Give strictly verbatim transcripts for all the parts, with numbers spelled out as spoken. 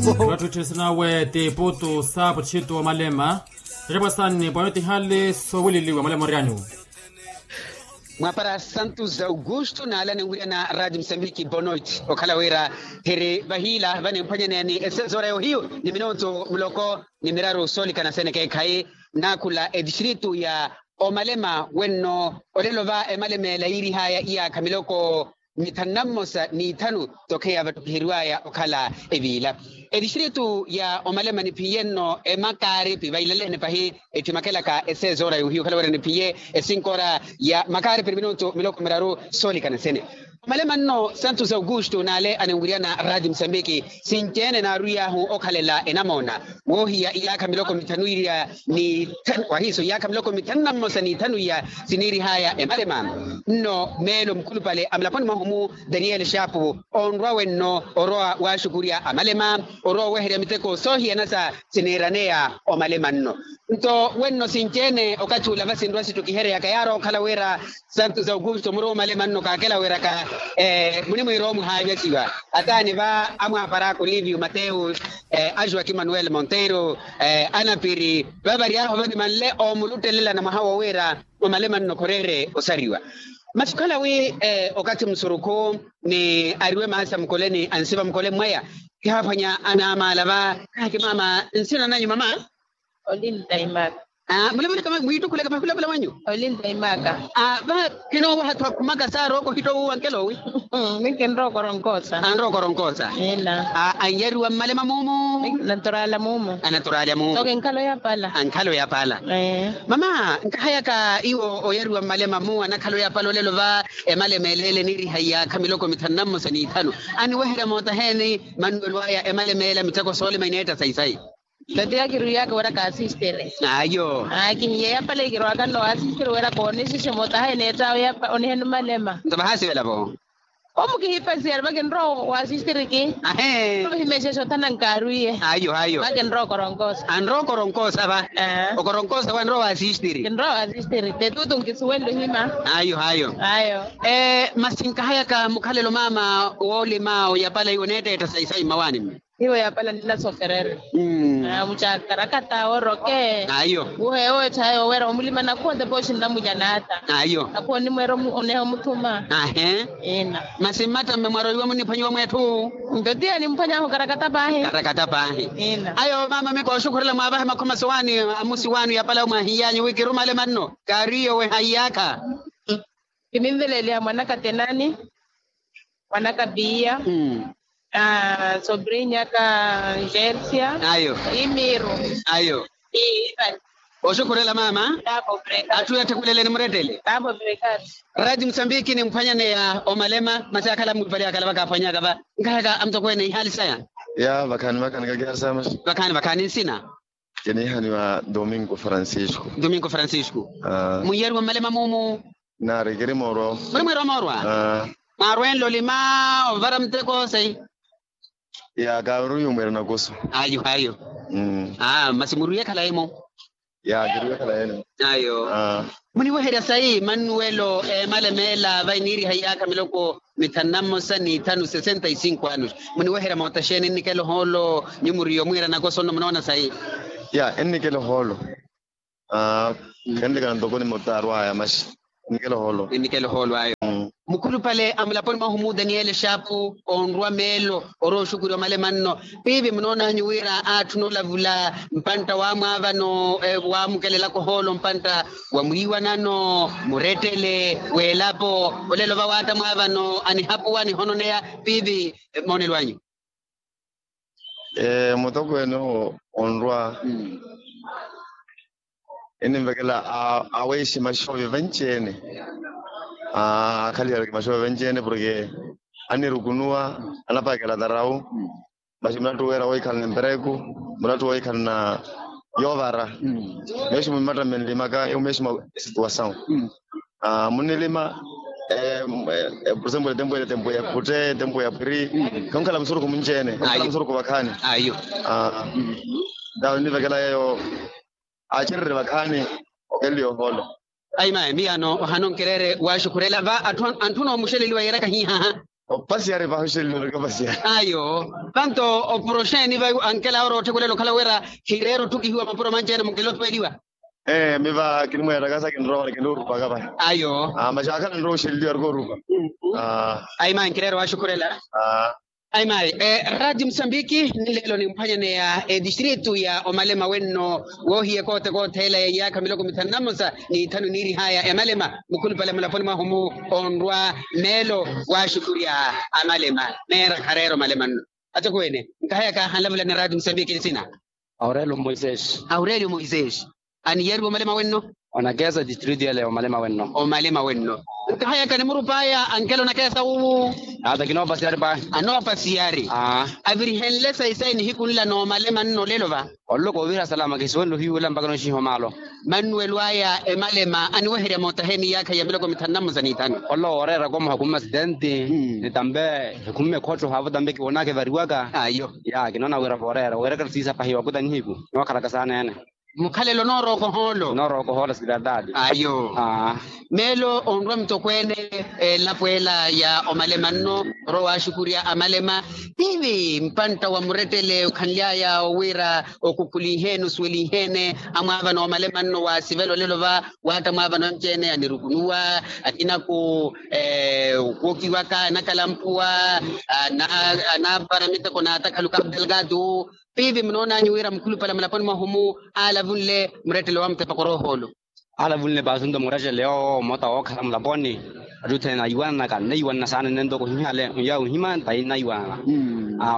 Watthutthesina we tiputu saapu txitu wa malema. Tacapwa sanni pwano tihale sowililiwa malema orianyu. Mwapara santu za augusto naalane nwirya na radio msambiki bonoit okhala wira hiri vahila vane mphwanyaneyani esezora yohiyu ni minonto muloko ni miraru solikana sene keekhayi. Naakhula etistritu ya omalema wenno olelo va emalema ela yiirihaya iyaakha miloko mithanu na mmosa n'ithanu. Tokheya vattukhiheriwaya okhala eviila etistritu ya omalema niphiye nno emakaaripi vailaleene pahi. Etthimakelaka esezoora yohiya okhala wira niphiye esinkora ya makaaripi ni minonto miloko miraru soolikana sene. Omalema nno santos augusto naale anenwiryana radio msambiki sinci-ene naarwiy'ahu okhalela enamoona woohiya iyaakha miloko mithanu iya ni wahiiso iyaakha miloko mithanu na mmosa n'ithanu iya siniirihaya emalema. Nno meelo mukhulupale amulaponi mwahu-mu daniel shapu onrwa wenno orowa waaxukurya amalema orowa oweherya miteko soohiyana sa siniiraneya omalema nno. Nto wenno sinci-ene okathi ula vasinrwa sittukihereyaka yaari okhala wira santos augusto muruumalema nno kaakela wiraka munimwiira omuhaavyakiwa ataani va amwaparaka olivio mateu ajoaki manuel monteiro anapiri vavaryahu vanimanle omuluttelelana mwaha wowiira omalema nno khoreere osariwa. Masi okhala wi okathi musurukhu ni ariwe maasa mukoleni ansiva mukoleni mwaya kihaaphwanya anaamaala va. Kaaki mama nsina nanyu mama. Olintaimaka. Mulemeleka mwiittukhuleka pakhulapula mwanyu. Olintaimaka. Va kinoowaha twakhumaka saarooko ohittowa uwankela owi. Minkinrookoronkoosa anrookoronkoosa. Ina. Anyariwa mmalema muumu. Anaturaala muumu anaturaala muumu. Toke nkhalo yapala ankhalo yapala. Mama nkahayaka iwo oyariwa mmalema muu anakhalo yapala olelo va emalema eleele niiriha iyaakha miloko mithanu na mmosa n'ithanu. Aniweherya mootaheeni mannuwelo aya emalema ela miteko soolima ineetta sayi-sayi. Tatiya kirwiyaka wira kaasistere. Ayo. Kihiye yapale kirwaka nno waasistere wira koonisixe mootaha eneetta awe yapa oniheni malema. Nto vahaasivela vo. Omu kihipasiyari vakinrowa waasistere ki. Ahe. Vahimexexa othana nkaarwiye. Ayo ayo vakinrowa okoronkoosa anrowa okoronkoosa va. Okoronkoosa wanrowa waasistere kinrowa waasistere tetutu nkisuwenle ohima. Ayo ayo ayo. Masi nkahayaka mukhalelo mama woolima oyapala iwo neetteetta sayi-sayi mmawaani mme. Hiyo yapala ninasoferere. Mucaakarakata oroke ayo. Wuheewo etthayo wira omulima nakhuwa tepe oshinna mujanata ayo. Akhuwa onimweera oneha omuthuma. Ahe. Ina. Masi mmatta mme mwaroiwa muniphwanyiwa mwetthu. Nto tiya nimphwanyahu karakata paahi karakata paahi. Ina. Ayo mama miko oxukhurela mwaavahe makhoma sowaani amusi waanu yapala mwahiy'anyu wi kirumale manno kaariyo weha iyaakha. Kiminveleliha mwanaka tenani mwanaka piya. Sobrinya ka jersia. Ayo. Imiru. Ayo. Oxukhurela mama. Atthu yatthikhuleleni murettele. Raji musambiki nimphwanyaneya omalema masi akhala mulupale akhala vakaaphwanyaka va. Nkahaka amutokweene ihaali saya. Ya vakhaani vakhaani kakihali saya masi. Vakhaani vakhaani nsina. Kiniihaniwa domingo francisco. Domingo francisco. Muniyariwa mmalema muumu. Naari kiri moorwa. Muri mwiira omoorwa. Mwaarwenle olima ovara muteko sayi. Ya kaaruriyo mwiira nakoso. Ayo ayo. Masi murwiye khalayi-mo. Ya kirwiye khalayi-mo. Ayo. Muniweherya sayi mannuwelo eemale meela vainiiriha iyaakha miloko mithanu na mmosa n'ithanu sesenta y cinco anos. Muniweherya moota xeeni ennikela ohoolo? Nyumuriyo mwiira nakoso nno munoona sayi. Ya ennikela ohoolo. Khenlekana ntoko ni mutaarwaya masi. Ennikela ohoolo. Ennikela ohoolo ayo. Mukhulupale a mulaponi mwahu mu daniele xaapu onrwa meelo orowa oxukuriwa malemanno. Piipi munoonanyu wira aatthuna olavula mpantta waamwaavano waamukelelaka ohoolo mpantta wa mwiiwanano murettele w'elapo. Olelo va waatta mwaavano anihapuwa anihononeya piipi. Moonelo anyu. Mutokweene owo onrwa enimvekela aweeximaxoovyo venci-ene. Akhalihereke maxoovyo venci-ene porke anirukunuwa anapakela tarau. Masi mulattuwera wohikhalana empereku mulattuwera wohikhalana yoovara. Meeximu mmatta mmenlimaka ewu meeximu esituwasawu. Munilima porsempu etempu ele etempu ya khutte etempu ya phiri. Khonkhala musurukhu munci-ene khonkhala musurukhu vakhaani. Ayo. Ntawe nivekela yeeyo aacererye vakhaani okeleliya ohoolo. Ayi mayi miyano ohana onkereere waaxukhurela va anthu anoomuxeleliwa yeeraka hihaha. Opasiyari pahuxelini orikapasiyari. Ayo. Panto oporoxeni vayu ankela oro otthekulela okhala wira hireera otthukihiwa mapuro manci-ene munkela otuweliwa. Ee miva kinimweettaka sa kinrowa wala kinrowa orupaka vahi. Ayo. Maxaakhala nrowa oxeleliwa arikoorupa. Ayi mayi nkireera owaxukhurela. Ayi mayi. Raati musambiki, ninleelo nimphwanyaneya etistritu ya omalema wenno, woohiya ekoote kootheela ya iyaakha miloko mithanu na mmosa n'ithanu niirihaya emalema mukhulupale mulaponi mwahu-mu, onrwa meelo waaxukhurya amalema. Meera khareera omalema nno. Atokweene, nkahayaka hanlavulani raati musambiki nsina. Aurelio moisesi. Aurelio moisesi. Aniyariwa omalema wenno? Onakeesa distritu yale omalema wenno. Omalema wenno. Nkahayaka ni murupaya ankela onakeesa wuwu? Ata kinoopasiyari pahi. Anoopasiyari. Avirihenle sayi sayi nihiku nla noomalema nno olelo va? Olelo koovira salama kisiwenle ohiwula mpaka noxihiwa maalo. Mannuwelo aya emalema aniweherya mootahe ni iyaakha ya miloko mithanu na mmosa n'ithanu. Olelo wooreera komuha kumma asitenti. Ni tampe ekhumma ekhotto haavo tampe kiwoonaka evariwaka. Ayo. Ya kinoona wira vooreera weeraka siisa pahi wakuta nihiku. Nookhalaka saana ene. Mukhalelo noorooko hoolo. Noorooko hoolo siverdade. Ayo. Meelo onrwa mutokweene elapo ela ya omalema nno, orowa waaxukhurya amalema. Tiivi mpantta wa murettele okhanly'aya owira okukhuliheene osuweliheene amwaavana omalema nno waasivela olelo va. Waatta mwaavana onci-ene anirukunuwa, akina ku wookiwaka anakalampuwa, anaavara miteko n'atakhalu ka abdelgado. Piivi munoonanyu wira mukhulupale mulaponi mwahu-mu aalavunle murettele wa mutepakoro ohoolo. Aalavunle paasunto murettele yoowo mota wookhala mulaponi. Atthu othene naiwananaka nnaiwanana saana nento kuhihale nyawe ohima ntayi nnaiwanana.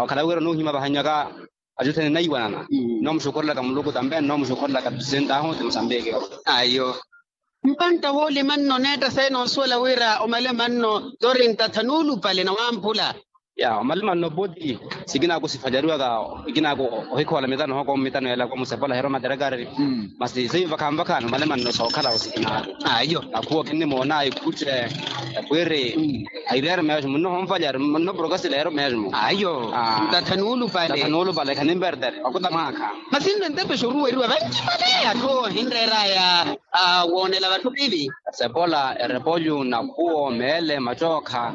Okhala wira onoohima vahanywaka atthu othene nnaiwanana. Nnoomuxukhurelaka muluku tampe nnoomuxukhurelaka presidente ahu ti musambiki. Ayo. Mpantta woolima nno neetta sayi noosuwela wira omalema nno torinta thanuulupale na wamphula. Ya omalema nno puti. Sikinaku sifacariwaka ikinaku ohikhoola mitano hoko mitano yelaka omusepola hero materekari. Masi siyo vakhanvakhani omalema nno sookhala osikinaku. Ayo. Nakhuwa kinnimoona ikhutte. Epwiri. Ayireero mesmo nno honfacari nno porokasile hero mesmo. Ayo. Ntathanuulupale. Ntathanuulupale khanimpertere wakuta mwaakha. Masi nno entepe xoruweriwa vanci vale atthu ohinreeraya. Woonela vatthu piivi. Sepola erepolyu nakhuwo meele macookha.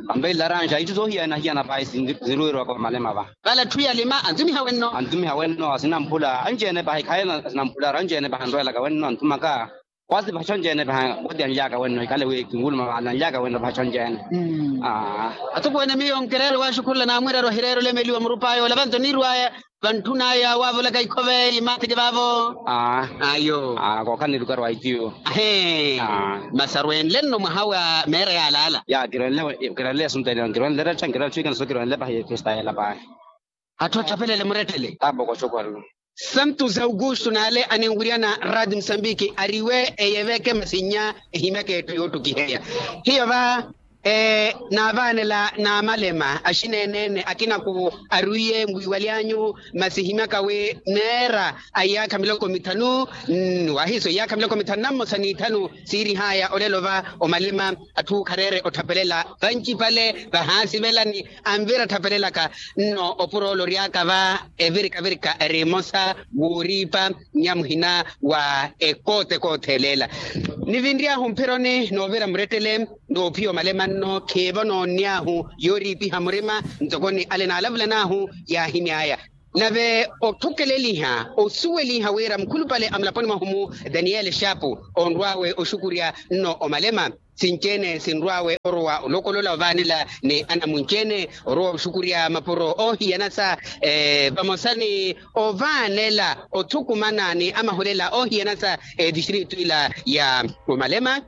Ampe ilaranxa itthu soohiyana hiyana pahi sinruweriwaka vamalema va. Vale atthu yalima antumiha wenno. Antumiha wenno asinamphula anci-ene pahi khaye asinamphularu anci-ene pahi anrwelaka wenno antumaka. Kwasi pahi conci-ene pahi woti anlyaka wenno ikale wi kinwuluma vale anlyaka wenno pahi conci-ene. Atokweene miyo nkireera owaxukhurela naamwireera ohireera olemeliwa murupaya ola vanto niirwaya. Vantthunaya waavolaka ikhove imathiki vaavo. Ayo. Kookhala nilukarwa itiyo. Masi arwenle nno mwaha wa meera yaalaala. Ya kirwenle esunta kirwenle eretta nkirwela tthwikana so kirwenle pahi efesta yeela pahi. Atthu atthapelele murettele. Taapoko xokwarelo. Santos augusto naale aninwiryana raati musambiki ariwe eyeveke masi nnya ehimyaka etthu yoottukiheya. Hiyo va naavaanela n'amalema axineenene akinaku arwiye mwiiwaly'anyu. Masi himyaka wi neera a iyaakha miloko mithanu. Wahiiso iyaakha miloko mithanu na mmosa n'ithanu siirihaya olelo va omalema. Atthu khareere otthapelela vancipale vahaasivelani anvira atthapelelaka. Nno opuro ole oryaka va evirikavirika eri emosa wooriipa nnya muhina wa ekoote koothelela. Nivinry'ahu mphironi noovira murettele noophiya omalema nno khiivo noonn'ahu yooriipiha murima. Ntoko ni ale naalavulan'ahu yaahimy'aya. Nave otthukeleliha osuweliha wira mukhulupale a mulaponi mwahu-mu daniele xapu onrw'awe oxukurya nno omalema. Sinci-ene sinrw'awe orowa olokolola ovaanela ni anamunci-ene orowa oxukurya mapuro oohiyana sa vamosa ni ovaanela othukumana ni amahulela oohiyana sa etistritu ila ya omalema.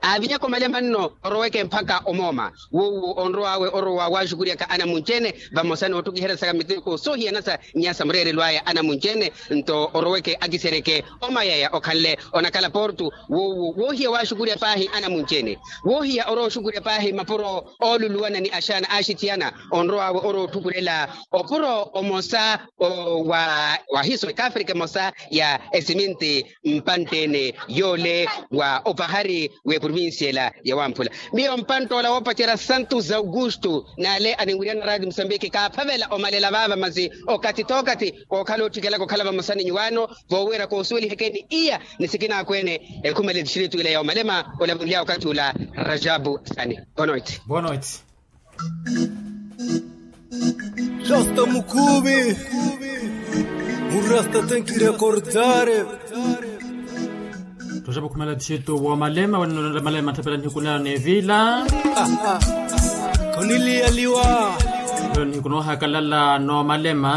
Aavinyaka omalema nno oroweke mpakha omooma. Wuwo onrow'awe orowa waaxukuryaka anamunci-ene vamosa n'otthukiheryasaka miteko soohiyana sa nyaasa mureerelo aya anamunci-ene. Nto oroweke akiseryeke omayaya okhanle onakhala portu. Wuwo woohiya waaxukurya paahi anamunci-ene woohiya orowa oxukurya paahi mapuro ooluluwana ni axaana aaxithiyana. Onrow'awe orowa otthukulela opuro omosa wa wahiso ekaafrika emosa ya esiminti mpantte-ene yoole wa opahari w'eprovincia ela ya wamphula. Miyo mpantte ola woopacerya santos augusto naale aninwiryana raati musambiki kaaphavela omalela vaava masi okathi t'okathi kookhala otthikelaka okhala vamosa ni nyuwaano voowira koosuweliheke ni iya ni sikinaakweene ekhumela etistritu ila ya omalema olavunly'awe okathi ula. Rajabu sani. Boa noite. Boa noite. Rasta mukhuvi. Murasta tenki rekordare. Toxepa okhumela txitu woomalema waninoonela malema tthapela nihiku nayo neevila. Khoniliyaliwa. Nihiku noohakalala noomalema.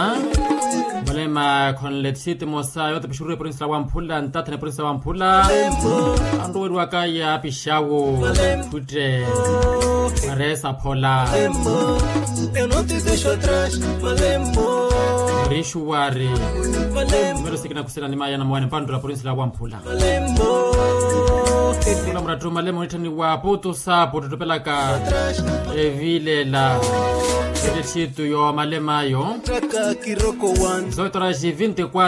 Malema khonle txitu emosa yootapixuruwa eprovincia la wamphula ntathana eprovincia la wamphula. Anruweriwaka yaapixawo. Khutte. Maresa phola. Rixuwari. Numero sikina khusina ni maya na mwane mpandu la provincia la wamphula. Mula murattu malema onitthaniwa putu sapu ottotopelaka. Evilela. Ete txitu yo malema ayo. Zoitoraxi vinte y quatro.